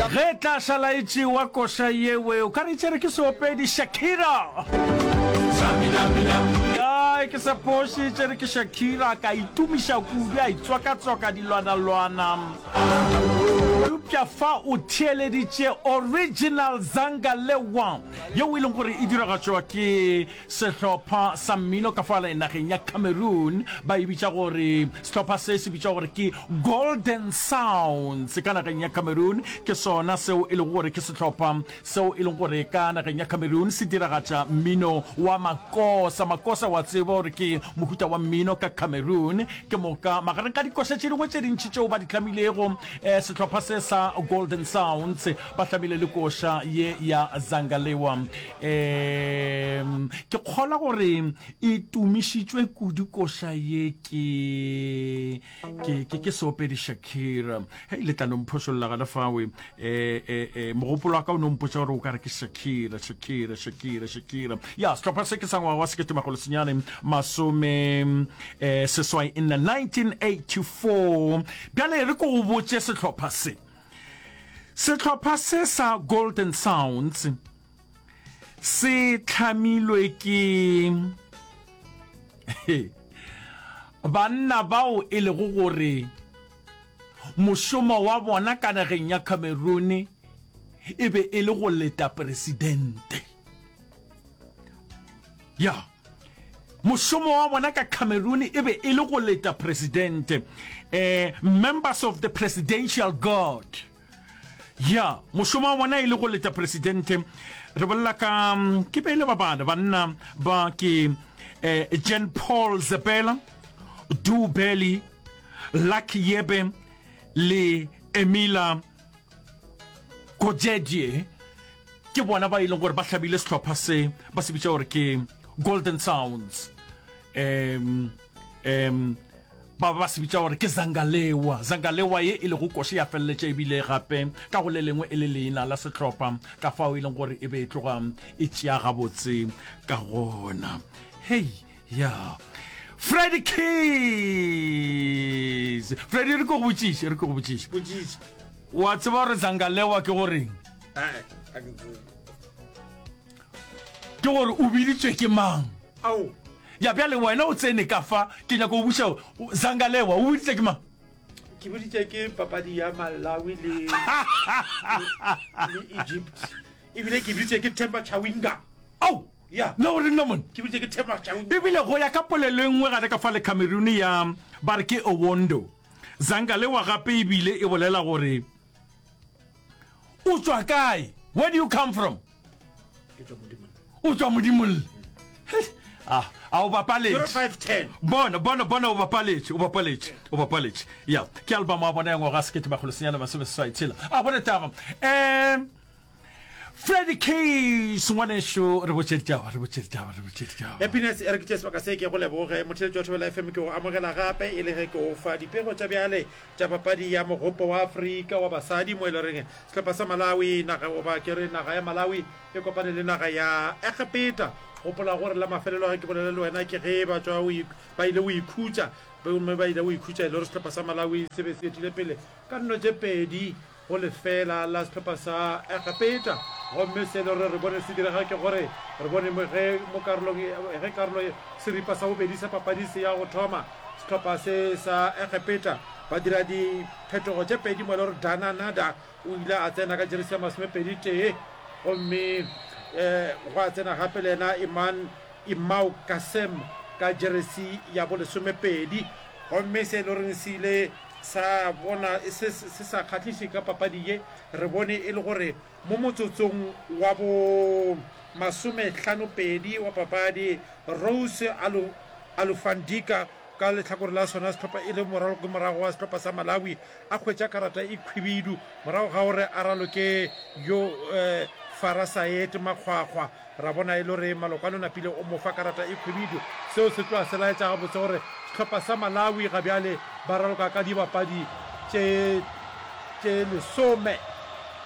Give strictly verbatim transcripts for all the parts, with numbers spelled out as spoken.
Ge e tla šala e tšewa koša yewe, o ka re tšere ke seopedi Shakira. Ai, ke sa phoše, tšere ke Shakira, ka itumiša kudu, a itswakatswaka dilwanalwana. Eupša fa o theeleditše original Zangalewa, yeo e leng gore e diragatšwa ke Sehlopha sa mmino ka fale nageng ya Cameroon ba e bitša gore, sehlopha se se bitšwa gore ke Golden Sounds ka nageng ya Cameroon. Ke sona seo e lego gore ke sehlopha seo e lego gore ka nageng ya Cameroon se diragatša mmino wa makosa. Makosa wa tseba gore ke mohuta wa mmino ka Cameroon. Ke moka magareng ga dikoša tše dingwe tše dintši tšeo ba di hlamilego, sehlopha se sa Golden Sounds ba hlamile le koša ye ya Zangalewa. Um ke kgolwa gore e tumišitšwe kudu koša ye ke, ke, ke, ke seopedi Shakira. Hei, le tla no mphošolla gana fawe. Eh, eh, eh, mogopolo wa ka o no mpotša gore o ka re ke Shakira, Shakira, Shakira, Shakira. Ya, sehlopha se ke sa ngwaga wa sekete makgolo senyane masome eh, seswai nne, nineteen eighty-four. Bjale re ko go botše sehlopha se. Sehlopha se sa Golden Sounds se hlamilwe ke banna bao e lego gore mošomo wa bona ka nageng ya Cameroon e be e le go leta presidente. Ya, mošomo wa bona ka Cameroon e be e le go leta presidente. Eh, members of the presidential guard. Ya, mošomo wa bona e le go leta presidente. Re bolela ka, ke be e le ba bane, banna ba ke eh, Jean Paul Zepela, Du Belly, Lucky Yebe le Emila Kojedie. Ke bona ba e leng gore ba hlabile sehlopha se ba se bitša gore ke Golden Sounds. Um, um, ba ba se bitša gore ke Zangalewa. Zangalewa ye e lego koše ya feleletša ebile gape ka go le lengwe e le leina la sehlopha, ka fao e leng gore e be e tloga e tšea gabotse ka gona. Hei, ya. Freddy Keys! Freddy, re ko go botšiše, re ko go botšiše. Botšiša. Wa tseba gore Zangalewa ke goreng? Ae, ga ke tsebe. Ke gore o biditšwe ke mang? Ao. Ya bjale wena o tsene ka fa, ke nyaka go buša Zangalewa, o biditše ke mang? Ke biditše ke papadi ya Malawi le, le Egypt. Ebile ke biditše ke Themba Chawinga. Ao! Ya. Na o re nna mone? Ke biditše ke Themba Chawinga. Ebile go ya ka polelo e nngwe gare ka fa le Cameroon ya ba re ke Owondo. Zangalewa gape ebile e bolela gore o tšwa kae? Where do you come from? O tšwa Modimolle. Ah, a o bapaletše. Bona, bona, bona o bapaletše, o bapaletše, o bapaletše. Ya, ke album wa bona ya ngwaga sekete makgolo senyane masome seswai tshela. A gona taba. Eh Freddy Keys, ngwanešu, re botše ditaba, re botše ditaba, re botše ditaba. Happiness, e re ke tšee sebaka se ke go leboge. Motheeletši wa Thobela F M ke go amogela gape e le ge ke o fa dipego tša bjale tša papadi ya Mogopo wa Afrika wa basadi mo e le goreng sehlopha sa Malawi, naga goba ke re naga ya Malawi e kopane le naga ya Egepeta. Gopola gore la mafelelo ge ke bolela le wena ke ge ba tšwa ba ile go ikhutša gomme ba ile go ikhutša e le gore sehlopha sa Malawi se be se etile pele ka nno tše pedi go lefeela la sehlopha sa Egepeta. Gomme se e le gore re bone se direga ke gore re bone ge mo karolong ge karolo seripa sa bobedi sa papadi se ya go thoma, sehlopha se sa Egepeta ba dira diphetogo tše pedi mo e le gore Dana Nada o ile a tsena ka jeresi ya masomepedi tee gomme um gwa tsena gape le yena Iman Imau Kasem ka jeresi ya bolesomepedi. Gomme se e le goreng se ile sa bona se se sa kgahliše ka papadi ye, re bone e le gore mo motsotsong wa bo masomehlano-pedi wa papadi, Rose Alu, Alufandika ka lehlakore la sona sehlopha e le moraloki-morago wa sehlopha sa Malawi a hwetša karata e khwibidu morago ga gore a raloke yo eh, Farah Saed Makgwakgwa. Ra bona e le gore Malokwane o napile o mo fa karata e khwibidu. Seo se tloga se laetša gabotse gore sehlopha sa Malawi ga bjale ba raloka ka dibapadi tše tše lesome.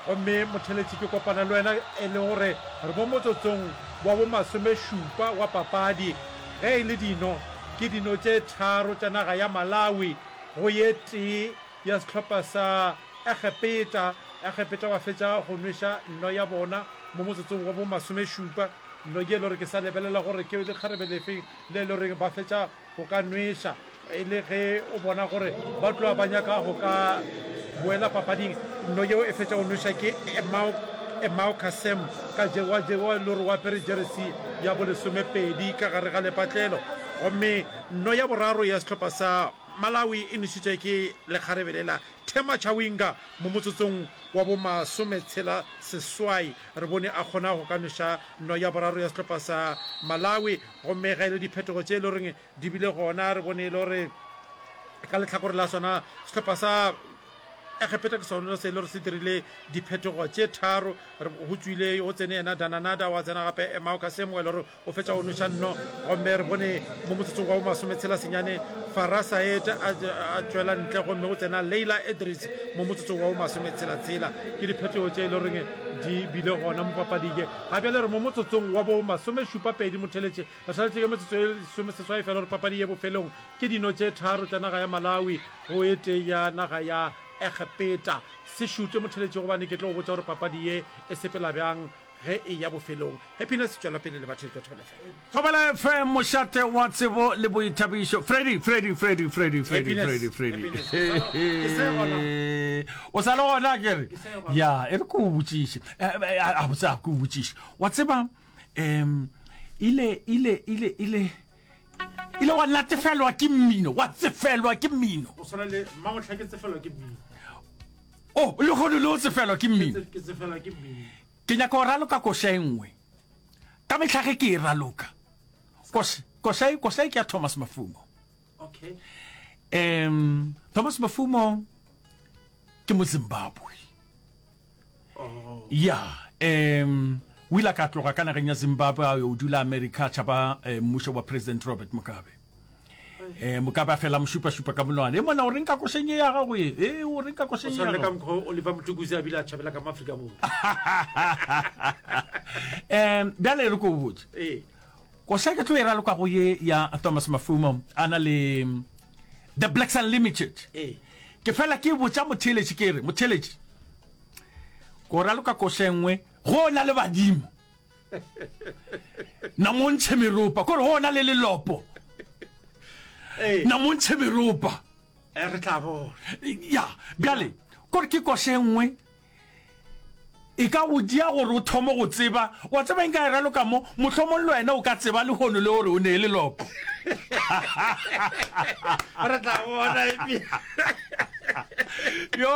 Gomme motheletši ke kopana le wena e le gore re mo motsotsong wa bo masomešupa wa papadi. Ge e le dino, ke dino tše tharo tša naga ya Malawi go ye tee ya sehlopha sa Egepeta. Egepeta ba fetša go nweša nno ya bona mo motsotsong wa bo masomešupa. Nno ye e le gore ke sa lebelela gore ke lekgarebe lefe le e le goreng ba fetša go ka nweša, e le ge o bona gore ba tloga ba nyaka go ka boela papading. Nno yeo e fetša go nweša ke Emao, Emao Kasem ka je, wa je, wa e le gore o apere jeresi ya bolesomepedi ka gare ga lepatlelo. Gomme nno ya boraro ya sehlopha sa Malawi e nwešitšwe ke lekgarebe lela Thema Chawinga mo motsotsong wa bo masometshela seswai. Re bone a kgona go ka nweša nno ya boraro ya sehlopha sa Malawi. Gomme ge e le diphetogo tše e le goreng di bile gona, re bone e le gore ka lehlakore la sona sehlopha sa Egepeta ke sona se e le gore se dirile diphetogo tše tharo. Go tšwile go tsene yena Dananada, wa tsena gape Emao Kasem e le gore o fetša go nweša nno. Gomme re bone mo motsotsong wa bomasometshela senyane Farah Saed a tšwela ntle, gomme go tsena Leila Edris mo motsotsong wa bomasometshela-tshela. Ke diphetogo tše e le goreng di bile gona mo papading ye. Ga bjale re mo motsotsong wa bomasomešupa-pedi motheletše. Re šaletše ke metsotso e lesomeseswai fela gore papadi ye bofelong. Ke dino tše tharo tša naga ya Malawi go e tee ya naga ya Egepeta. Se šute motheletše gobane ke tlo go botša gore papadi ye e sepela bjang ge e ya bofelong. Happiness tšwela pele le batheetši ba Thobela F M. Thobela F M, mošate wa tsebo le boithabišo. Freddy, Freddy, Freddy, Freddy, Freddy, Happiness, Freddy, Freddy. Happiness. Ke se gona. O sa le gona ke re? Ke se gona. Ya, e re ke o botšiše. Eh, eh, a botse a ke o botšiše. Wa tseba, um, ile, ile, ile, ile, ile wa natefelwa ke mmino, wa tsefelwa ke mmino. Go swana le mmamohla ke tsefelwa ke mmino. Oh, le kgone le o tsefelwa ke mmino. Ke tsefelwa ke mmino. Ke nyaka go raloka koša e nngwe. Ka mehla ge ke e raloka, koša, koša e, koša e ke ya Thomas Mafumo. Okay. Um, Thomas Mafumo ke Mozimbabwe. Oh. Ya, um, o ile a ka tloga ka nageng ya Zimbabwe a yo dula America a tšhaba eh, mmušo wa President Robert Mugabe. Eh, Mugabe a fela mo šupa-šupa ka monwana. E mona o reng ka košeng ye ya gago ye? E o reng ka Go košeng ye swana ya le ka gago? mokgwa Oliver Mtukudzi a bile a tšhabela ka mo Afrika Borwa. Um, bjale re ko o botše. Ee. Koša ke tlo e raloka go ye ya Thomas Mafumo a na le The Blacks Unlimited. Ee. Ke fela ke botša motheeletši ke re, motheeletši, ko raloka koša e nngwe go na le badimo. Na mo ntšhe meropa, kore go na le lelopo. Ee. Na mo ntšhe meropa. Eh, re tla bona. Ya, bjale kore ke koša e nngwe e ka go dia gore o thome go tseba. Wa tseba eng ka e raloka mo, mohlomong le wena o ka tseba lehono le gore o ne e lelopo. Re tla bona epi. Yo!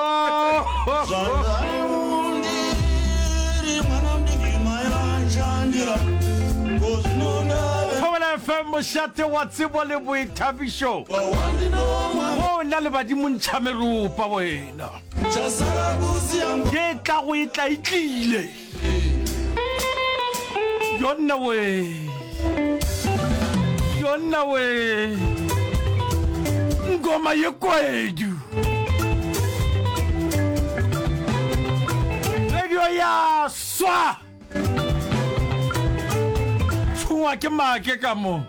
Thobela F M, mošate wa tsebo le boithabišo. Go na le badimo ntšha meropa wena. Ye tla go e tla e tlile. Yonna we. Yonna we. Ngoma ye kwedu. Radio ya swa. Tshungwa ke make ka mo.